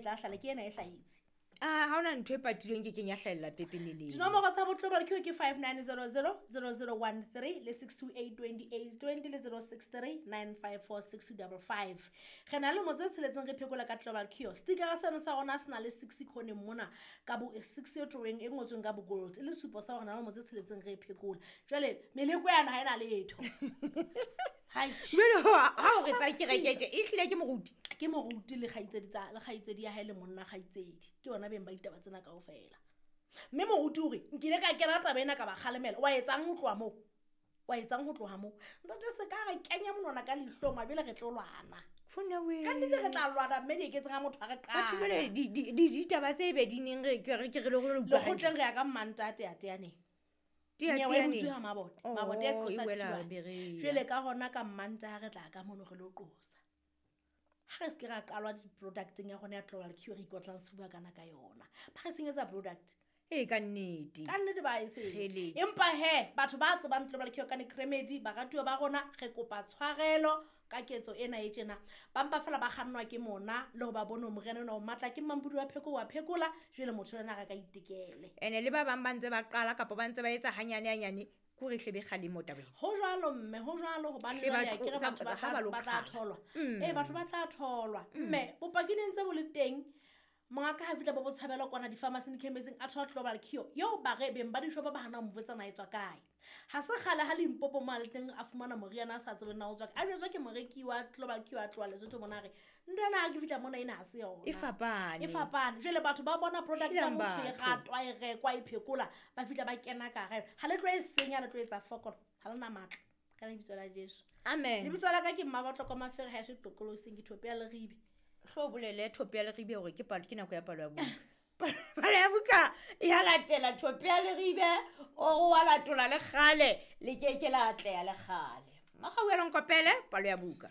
tla hlala ke ena e hlahetse. A ha ona ntho e patilweng ke keng ya hlahella pepeneneng. Dinomoro tsa botlobal ke ke 5900 0013 le 628 2820 le 063 954 6255. Re na le motse tsheletseng re phekola ka Global Cure. Stickera seno sa rona se na le 6 iconeng mona ka bo 6 e drawing e ngotsweng ka bo gold e le supo sa hore na le motse tsheletseng re phekola. Jwale meleko yana ha ena letho. Hai. Jwale ha o re tsa kerekete e hlile ke moruti. Ke moruti le kgaitsedi tsa le kgaitsedi ya hae le monna kgaitsedi. Ke bona beng ba ditaba tsena kaofela. Mme moruti o re nkile ka kena taba ena ka ba kgalemela. Wa etsang ho tloha moo? Wa etsang ho tloha moo? Ntate se ka re kenya monwana ka leihlong mabele re tlo lwana. Fona we. Ka nnete re tla lwana mme di eketse ga motho a re Batho qala. jwale ditaba tse be di neng re ke re ke re le gore utlwa hantle. Lekgotleng re ya ka Mmantate a teaneng. Tea- Nyewe e teaneng. butswe ha Mabote. Oh, Mabote e qosa e wela Thiwane. Berea. Jwale ka hona ka Mmantaha re tla ka mono re lo qosa. Ha re se ke ra qalwa di-producteng ya rona ya Global Cure re ikotlang sefuba kana ka yona. Ba re senyetsa product. Ee, ka nnete. Ka nnete ba e senya. Kgele. Empa he, batho ba tsebang Global Cure ka Necremedy, baratuwa ba rona, re kopa tshwarelo ka ketso ena e tjena. Ba mpa feela ba kgannwa ke mona le ho ba bone hore moriana ona o matla ke mampodi wa pheko wa phekola, jwale motho ena a ka itekele. Ene le ba bang ba ntse ba qala kapa ba ntse ba etsa hanyane hanyane, ke hore hle be kgalemo tabeng. Ho jwalo mme, ho jwalo hobane Hle ba jwale akere tlo- batho ba ha tla ba lo ba tla qala. tholwa. Ee, batho ba tla tholwa. Mme bopaki ne ntse bo le teng. Mongaka ha fihla bo botshabelo kwana di-pharmacy di-chemist-ing a thola Global Cure eo ba re beng ba dishopo ba hana ho mo botsa na e tswa kae. Ha se kgale ha Limpopo mo a le teng a fumana moriana a sa tsebeng na o tswa kae. A jwetswa ke moreki wa Global Cure a tloha Lesotho mona a re ntho ena ha ke fihla mona ena ha se yona. E fapane. E fapane. Jwale batho ba bona product ya Helang motho e batho. ratwa, e rekwa, e phekola, ba fihla ba kena ka hare. Ha le tlo e senya, le tlo etsa fokolo. Ha le na matla. Ka lebitso la Jesu. Amen. Lebitso la ka ke Mmabatloko Mafere ha eso Qoqolosing, ke Thope ya Leribe. Hlo bolele Thope ya Leribe hore ke palo, ke nako ya palo ya buka. Palo ya buka ya latela Thope ya Leribe, o wa latola le kgale, le ke ke la atleha le kgale. Makgauela nkopele palo ya buka.